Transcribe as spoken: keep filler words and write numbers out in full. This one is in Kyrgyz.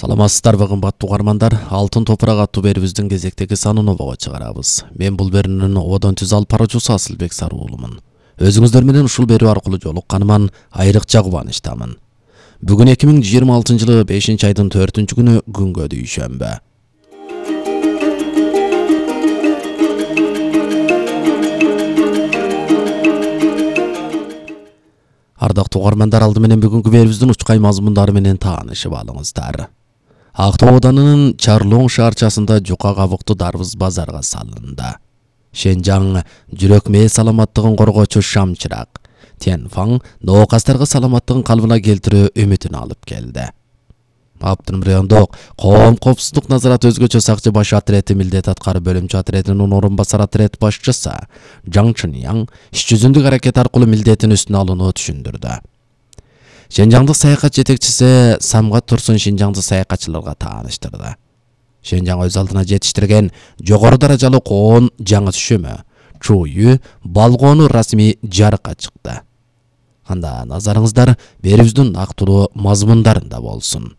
Саламатсыздарбы кымбаттуу угармандар, Алтын топурак аттуу берүүбүздүн кезектеги санын обого чыгарабыз. Мен бул берүүнүн ободон түз алып баруучусу Асылбек Саруулумун. Өзүңүздөр менен ушул берүү аркылуу жолукканыман айрыкча кубанычтамын. Бүгүн эки миң жыйырма алтынчы жылы бешинчи айдын төртүнчү күнү күнгө дүйшөмбү. Ардактуу угармандар, алды менен бүгүнкү берүүбүздүн учкай мазмундары менен таанышып алыңыздар. Актоо ауданынын Чарлоң шаарчасында жука кабыктуу дарбыз базарга салынды. Шенжаң жүрөк мээ саламаттыгын коргоочу Шамчырак Тянфаң ноокастарга саламаттыгын калыбына келтирүү үмүтүн алып келди. Аптын райондок коом коопсуздук назараты өзгөчө сакчы баш отрети милдет аткарып бөлүмчө отретинин орун басар отрет башчысы Жаң Чыньяң иш жүзүндүк аракет аркылуу милдетин үстүнө алууну түшүндүрдү. Шенжаңдык саякат жетекчиси Самгат Турсун шенжаңдык саякатчыларга тааныштырды. Шенжаң өз алдына жетиштирген жогору даражалуу коон жаңы түшүмү Чую балгоону расмий жарыкка чыкты. Анда назарыңыздар берүүбүздүн нактылуу мазмундарында болсун.